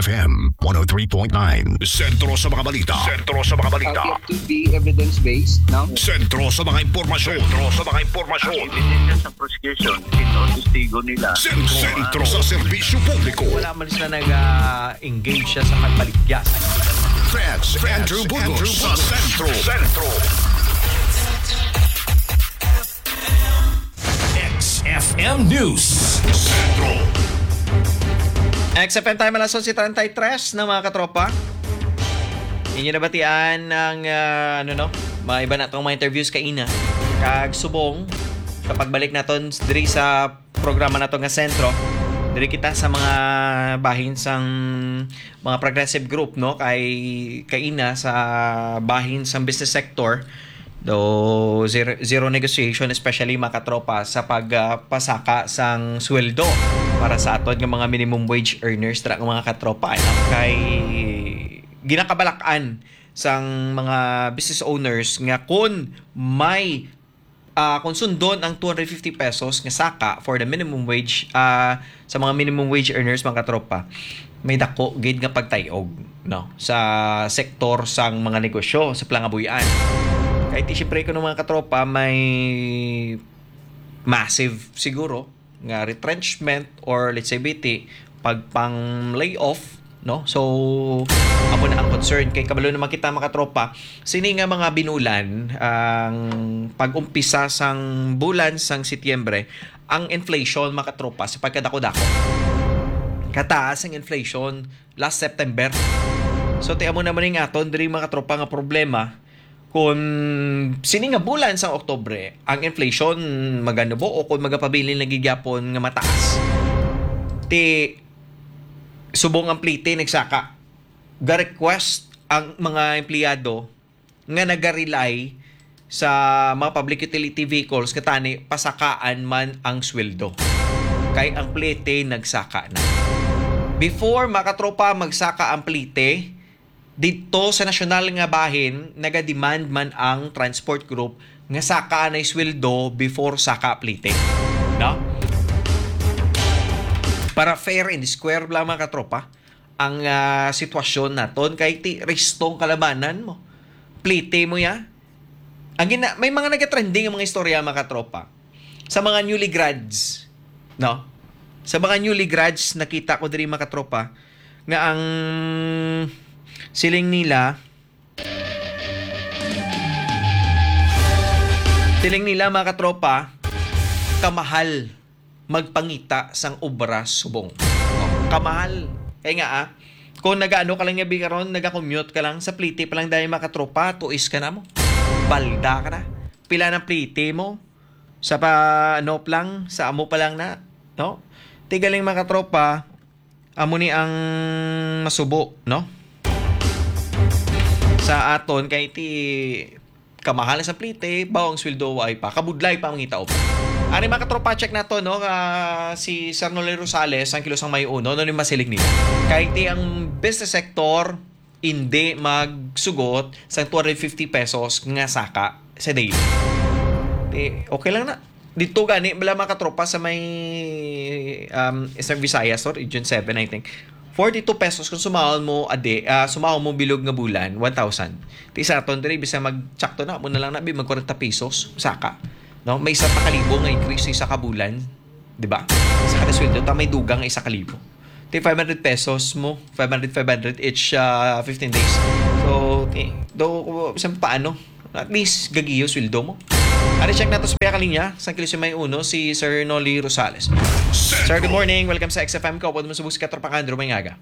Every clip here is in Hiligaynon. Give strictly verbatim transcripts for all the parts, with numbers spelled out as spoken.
F M one oh three point nine. Sentro sa mga balita. Sentro sa mga balita. Uh, it to be evidence-based, no? Sentro sa mga impormasyon. Sentro sa mga impormasyon. Ang ebidensya sa prosecution, ito ang testigo nila. Sentro, sentro sa serbisyo publiko. Wala man sila nag-engage siya sa pagbaligya. Feds Andrew Burgos sa Sentro. Sentro. X F M News Central. X F M time, alas onse treinta y tres na, mga katropa. Inyo nabatian ang, ah, ano, no? Mga iba na tong mga interviews kaina. Kag subong, sa pagbalik naton diri sa programa nato nga Sentro, diri kita sa mga bahin sang mga progressive group, no? Kay kaina sa bahin sang business sector, do zero, zero negotiation, especially, mga katropa, sa pag, ah, pasaka sang sweldo para sa aton nga mga minimum wage earners, tra, mga katropa, ano? Kay ginakabalak-an sang mga business owners nga kung may, ah, kung sundon ang two hundred fifty pesos nga saka for the minimum wage, ah, sa mga minimum wage earners, mga katropa, may dako gid nga pagtay-og, no, sa sektor sang mga negosyo sa Palangabuyan. Kay ti, siyempre, kuno, mga katropa, may massive siguro nga retrenchment or, let's say, B T, pagpang layoff, no? So, amo na ang concern. Kay kabalo naman kita, mga katropa, sini nga mga binulan, ang pag-umpisa sang bulan sang Setyembre, ang inflation, mga katropa, sa pagkadako-dako. Kataas ang inflation last September. So, ti amo naman ning aton diri, mga katropa, nga problema. Kung sini nga bulan sang Oktubre, ang inflation maganubo o kung magapabilin lagi gyapon nga mataas, ti subong ang plite nagsaka. Ga-request ang mga empleyado nga naga-rely sa mga public utility vehicles nga tani pasakaan man ang sweldo. Kay ang plite nagsaka na. Before, mga katropa, magsaka ang plite, didto sa nasyonal nga bahin, naga-demand man ang transport group nga saka anay sweldo before saka plite. No? Para fair and square lang, mga katropa, ang, ah, sitwasyon naton. Kay ti restong kalabanan mo. Plite mo ya. Ang gina-, may mga nagatrending ang mga istorya, mga katropa. Sa mga newly grads, no? Sa mga newly grads, nakita ko diri, mga katropa, nga ang siling nila, siling nila, mga katropa, kamahal magpangita sang obra subong. No? Kamahal. Kay nga, ah, kung nagaano ka lang nga bi karon, nagakommute ka lang, sa plite pa lang dahil, mga katropa, tuis ka na mo. Balda ka na. Pila ng plite mo? Sa pa, ano pa lang, sa amo pa lang na, no? Ti galing, mga katropa, amo ni ang masubo, no? Sa aton, kay ti kamahal sa plite, bawo ang sweldo, ay pa, kabudlay pa ang mangita. Ari, mga katropa, check nato, no? Ah, si Sir Noli Rosales, ang kilos ang may uno, no, ni masiling nila. Kay ti ang business sector, hindi magsugot sa two hundred fifty pesos nga saka sa daily. Ti, okay lang na. Dito gani, bala, mga katropa, sa may, um, sa Visayas, or Region seven, I think. Forty-two pesos kung sumahon mo adi, ah, sumahon mo bilog nga bulan, one thousand. Ti sa aton diri, bisan magtsakto na, mo na lang na, bi, mag kwarenta pesos, saka. No? May isa pa kalibo nga increase sa isa ka bulan, di ba? Sa kada sweldo, ta may dugang nga isa kalibo. Ti five hundred pesos mo, five hundred, five hundred each, ah, fifteen days. So, ti, do, bisan paano, at least, gagiyo sweldo mo. Ari, check nato sa pihak linya, sa Kilisyo may uno, si Sir Noli Rosales. Sir, good morning. Welcome sa X F M ko. Pwede mo subok si Katropang Andrew, may ngaga.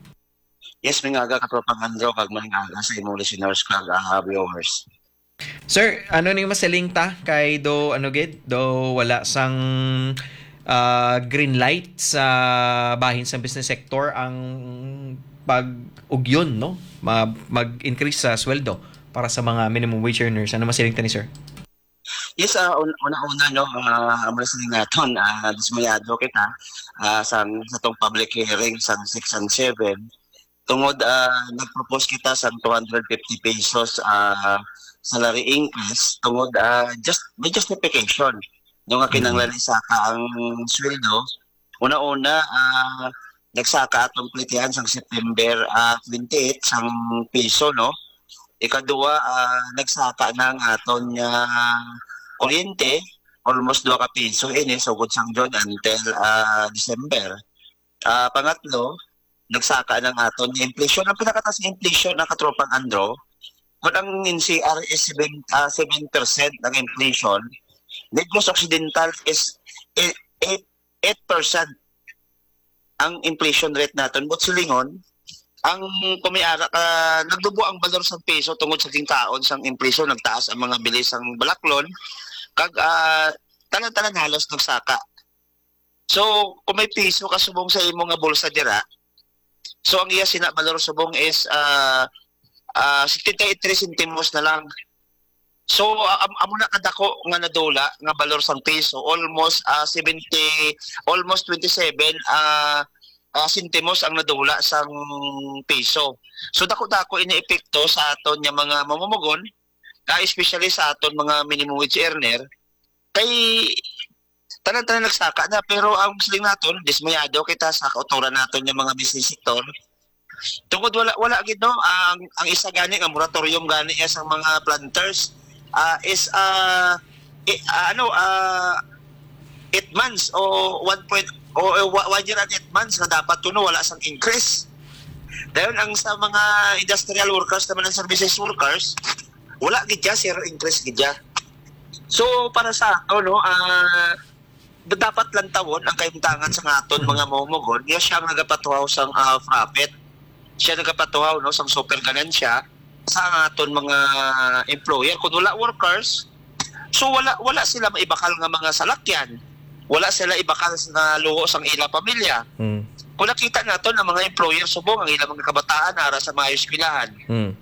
Yes, may ngaga, Katropang Andrew, kag may ngaga sa imong listeners, kag, ah, viewers. Sir, ano ning masiling ta? Kay do, ano gid, do wala sang, ah, green light sa bahin sa business sector ang pag-ugyon, no? Ma-, mag-increase sa sweldo para sa mga minimum wage earners. Ano masiling ta ni, sir? Yes, ah, un-, una-una, no, ah, ang mga siling naton, ah, dismayado kita, ah, sa, sa tong public hearing sa six and seven. Tungod, ah, nag-propose kita sa two hundred fifty pesos, ah, salary increase, tungod, ah, just, may justification. No, nga kinahanglan isaka ang sweldo. Una-una, ah, nagsaka atong plitihan sang September, ah, twenty-eight sang piso, no? Ikaduha, ah, nagsaka na ang aton nga kuryente, almost dua ka piso ini, sugod sang June until, ah, December. Ah, pangatlo, nagsaka na ang aton nga inflation. Ang pinakataas nga inflation, ang katropang Andro, kung ang N C R is seven, ah, seven percent ang inflation, Negros Occidental is eight, eight, eight percent ang inflation rate naton. But silingon, ang kumiara ka, nagdubo ang balor sang piso tungod sa ginkaon sang inflation, nagtaas ang mga bili sang balaklon, kag, ah, tanan-tanan halos nagsaka. So, kung may piso ka subong sa imo nga bulsa dira, so ang iya sina balor subong is, ah, ah, setenta y tres centimos na lang. So, ah, am-, amo na kadako nga nadula nga balor sang piso, almost, ah, seventy, almost twenty-seven, ah, ah, sentimos ang nadula sang piso. So, dako-dako ini epekto sa aton nga mga mamumugon, ah, especially sa aton mga minimum wage earner. Kay tanan-tanan nagsaka na, pero ang siling naton, dismayado kita sa kautoran naton nga mga business sector. Tungod wala, wala gid, no, ang, ang isa gani nga moratorium gani iya sa mga planters, ah, is, ah, i-, ah, ano, ah, eight months o one point, o, o wa-, one year and eight months nga dapat kuno wala sang increase. Dayon ang sa mga industrial workers naman, ang services workers, wala gid siya, zero increase gid siya. So, para sa ato, no, ah, dapat lantawon ang kahimtangan sa nga aton mga mamumugon. Iya siya ang nagapatuhaw sang, ah, profit. Siya nagapatuhaw, no, sang super ganansya sa aton mga employer. Kung wala workers, so wala, wala sila maibakal nga mga salakyan. Wala sila ibakal nga luho sang ila pamilya. Mm. Kung nakita naton ang mga employer subong ang ilang mga kabataan ara sa mga eskwelahan, Mm.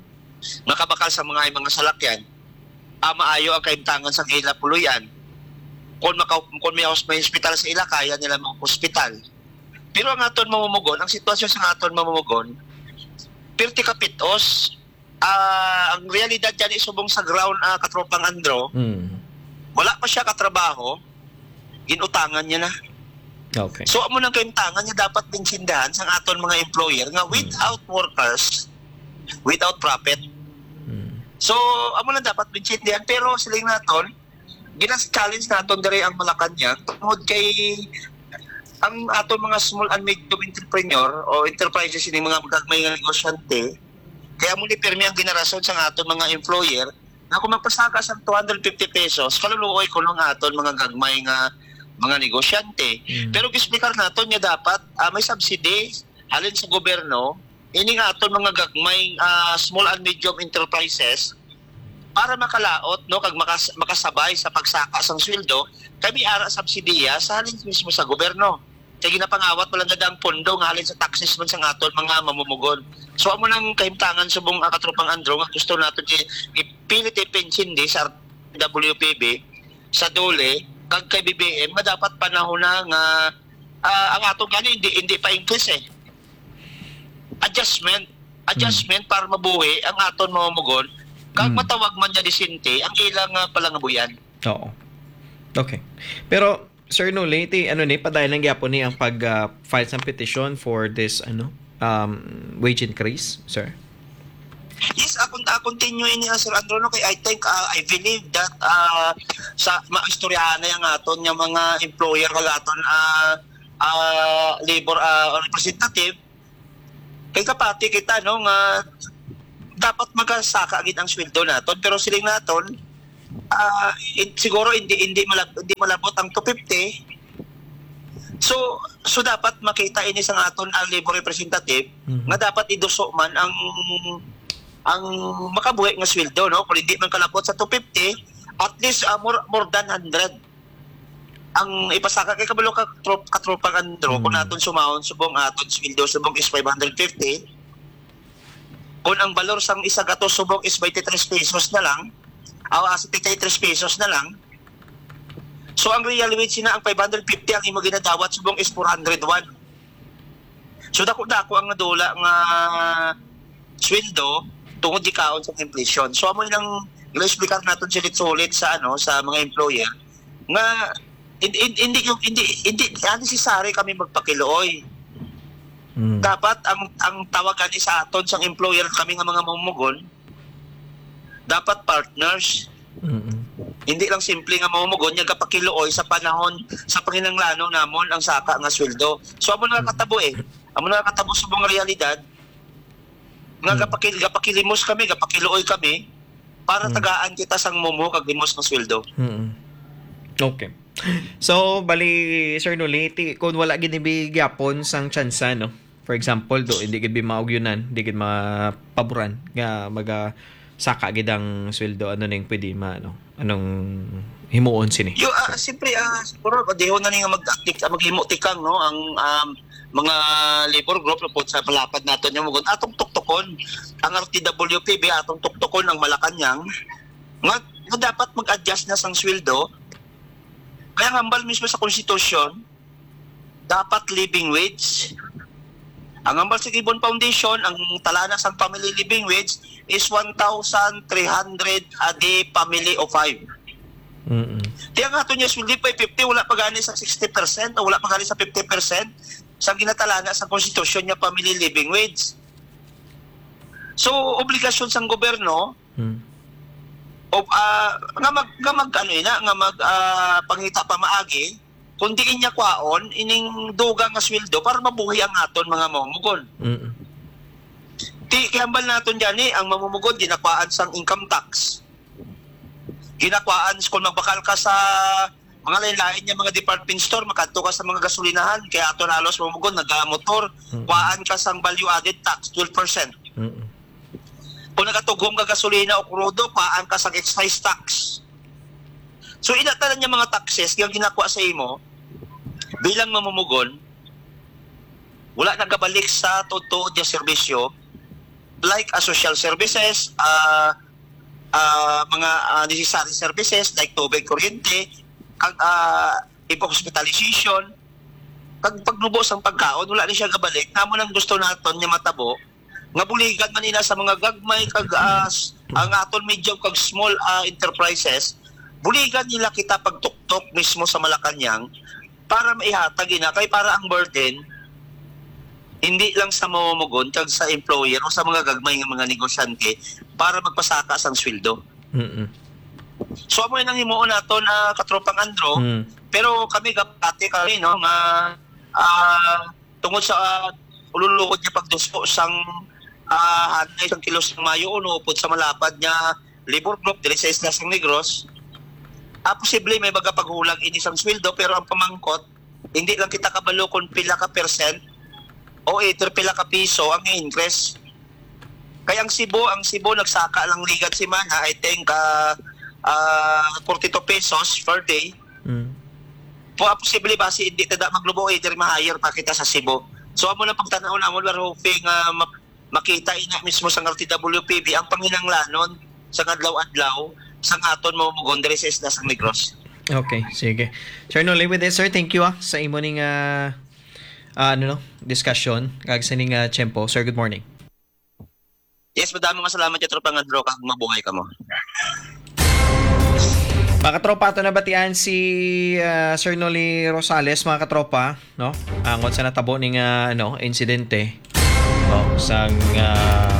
makabakal sa mga, mga salakyan, ah, maayo ang kahimtangan sang ila puloy-an. Kung maka-, kung may hos-, may hospital sa ila, kaya nila mag-hospital. Pero ang aton mamumugon, ang sitwasyon sa aton mamumugon, pirti ka pit-os. Ah, ang realidad gani subong sa ground, ah, katropang Andro, Mm. wala pa siya katrabaho, ginutangan niya na. Okay. So, amo nang kahimtangan nga dapat maintindihan sang aton mga employer nga Mm. without workers, without profit. Mm. So, amo lang dapat maintindihan. Pero siling naton, gina-challenge naton diri ang Malacañang tungod kay ang aton mga small and medium entrepreneur o enterprises, ini mga gagmay nga negosyante, kaya mo ni pirmi ang ginarason sang aton mga employer na kung magpasaka sang two hundred fifty pesos, kaluluoy kuno ang aton mga gagmay nga mga negosyante. Mm. Pero gisplicar naton nga dapat, ah, may subsidy halin sa gobyerno, ini nga aton mga gagmay, ah, small and medium enterprises para makalaot, no, kag makas-, makasabay sa pagsaka sang sweldo, kay may ara subsidiya sa halin mismo sa gobyerno. Kay ginapangawat man lang gid ang pondo nga halin sa taxes man sang aton mga mamumugon. So, amo nang kahimtangan subong, ah, katropang Andro nga gusto nato i-, ipilit ipaintindi sa W P B, sa DOLE, kag kay B B M nga dapat panahon na nga, ah, ang aton gani hindi, hindi pa increase eh. Adjustment, adjustment para mabuhi ang aton mamumugon kag Mm. matawag man nga disente ang ilang, ah, palangabuyan. Oo. Okay. Pero, Sir Noli, ti, ano ni, padayon lang gyapon ni ang pag, ah, file sang petition for this, ano, um, wage increase, sir? Yes, ah, con-, ah, continue ini, ah, Sir Andro, no? Kay I think, ah, I believe that, ah, sa maistoryahan na yang aton nga mga employer kag aton, ah, ah, labor, ah, representative, kay kapati kita, no, nga dapat magasaka gid ang sweldo naton, pero siling naton, ah, in-, siguro hindi, hindi malab-, hindi malabot ang two fifty. So, so dapat makita ini sang aton ang labor representative Mhm. nga dapat iduso man ang, ang makabuhi nga sweldo, no? Kung hindi man kalabot sa two fifty, at least, ah, more, more than hundred ang ipasaka kay kabalo ka trop-, katropang Andro, kung Mm. naton sumahon subong aton sweldo subong is five hundred fifty, kung ang balor sang isa gatos subong is twenty-three pesos na lang, aw, ah, twenty-three pesos na lang, so ang real wage na ang five hundred fifty, ang imo ginadawat subong is four hundred one. So, dako-dako ang nadula nga sweldo tungod gikaon sa inflation. So, amo nang gina-explicar naton sulit-sulit sa, ano, sa mga employer nga hin-, hin-, hindi yung, hindi, hindi, hindi necessary kami magpakiluoy. Mm. Dapat ang, ang tawagan ni sa aton sang employer, kami nga mga mamumugon, dapat partners. Mm-mm. Hindi lang simple nga mamumugon nga gapakiluoy sa panahon sa panginahanglanon namon ang saka nga sweldo. So, amo na Mm. katabo eh. Amo na katabo sa mga realidad nga Mm. gapakil-, gapakilimos kami, gapakiluoy kami para Mm. tagaan kita sang mumo kag limos nga sweldo. Mm. Okay. So, bali, Sir Noli, ti-, kung wala gid ni gyapon sang tsansa, no? For example, do, hindi gid bi maugyunan, hindi gid mapaboran nga maga-, saka gid ang sweldo, ano ning pwede ma-, ano? Anong himuon sini? Yo, ah, siyempre, ah, siguro, padihon na ni nga mag-, maghimo tikang, no? Ang, um, mga labor group, po sa palapad naton yung mugon, atong tuktukon, ang R T W P B, atong tuktukon ang Malacañang, nga, nga dapat mag-adjust na sang sweldo. Kaya ang hambal mismo sa konstitusyon, dapat living wage. Ang hambal sa Gibbon Foundation, ang talana sang family living wage is one thousand three hundred a day, family of five. Mm-mm. Tiya nga ato niya sweldo pa fifty, wala pa gani sa sixty percent o wala pa gani sa fifty percent sa ginatalana sa konstitusyon niya family living wage. So, obligasyon sang gobyerno Hmm. o, ah, nga mag, nga mag, ano ina, nga mag, ah, pangita pamaagi, kung diin niya kwaon ining dugang nga sweldo para mabuhi ang aton mga mamumugon. Mm. Ti, kihambal naton gani ang mamumugon ginakwaan sang income tax. Ginakwaan kung magbakal ka sa mga lain-lain nga mga department store, makadto ka sa mga gasolinahan, kaya aton halos mamumugon nagamotor, Mm. kwaan ka sang value added tax, twelve percent. Mm. Kung nagatughom ka gasolina o krudo, kwaan ka sang excise tax. So, ina tanan nga mga taxes nga ginakuha sa imo bilang mamumugon, wala nagabalik sa tuod-tuod nga serbisyo, like, ah, social services, ah, ah, mga, ah, necessary services like tubig, kuryente, kag, ah, hospitalization, kag pagnubo sang pagkaon, wala ni siya gabalik. Namo nang gusto naton nga matabo, nga buligan man ina sa mga gagmay kag, ah, s-, ang aton medium kag small, ah, enterprises, buligan nila kita pagtuktok mismo sa Malacañang para maihatag ina, kay para ang burden hindi lang sa mamumugon kag sa employer o sa mga gagmay nga mga negosyante para magpasaka sang sweldo. Mm-mm. So, amo nang himuon nato na katropang Andro, Mm. pero kami gapati kami, no, nga, ah, tungod sa, ah, ululuhod nga pagduso sang, ah, hanay sang kilos sang Mayo uno upod sa malapad nga labor group diri sa Isla sang Negros, ah, posible may baga paghulag ini sang sweldo, pero ang pamangkot, hindi lang kita kabalo kung pila ka percent o either pila ka piso ang increase. Kay ang Cebu, ang Cebu nagsaka lang ligad semana, I think, ah, ah, forty-two pesos per day. Mm. Po, posible ba si hindi tada maglubo, either ma-higher pa kita sa Cebu. So, amo lang pagtanaw namon, we're hoping, ah, ma-, makita ina mismo sa R T W P B ang panginahanglanon sa adlaw-adlaw sa aton mamumugon diri sa Isla sang Negros. Okay, sige. Sir Noli, with this, sir, thank you, ah, sa imo ning, ah, ah, ano, no, discussion kag sa ning, ah, tiyempo. Sir, good morning. Yes, madamo nga salamat, katropang Andro, kag mabuhay kamo. Mga katropa, ato nabatian si, ah, Sir Noli Rosales, mga katropa, no? Angot sa natabo ning, ah, ano, insidente, no? Sang, ah,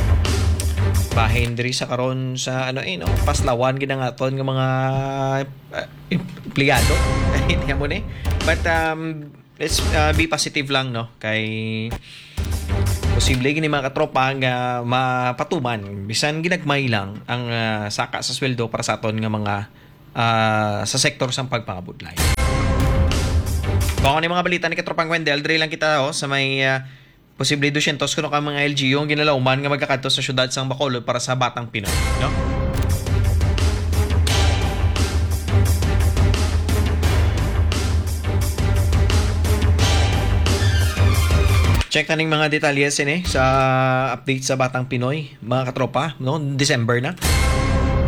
bahin diri sa karon sa, ano, eh, no? Paslawan gid ang aton nga mga, ah, empleyado. Hindi mo ni. But, um, let's, uh, be positive lang, no? Kay posible gini, mga katropa, nga mapatuman, bisan ginagmay lang ang, uh, saka sa sweldo para sa aton nga mga, uh, sa sektor sang pagpangabudlay. Kung ano yung mga balita ni Katropang Wendell, diri lang kita, oh, sa may, uh, posible dusyentos kuno ka mga L G U ang ginalauman nga magakadto sa syudad sang Bacolod para sa Batang Pinoy, no? Check taning mga detalye sini sa update sa Batang Pinoy, mga katropa, no? December na.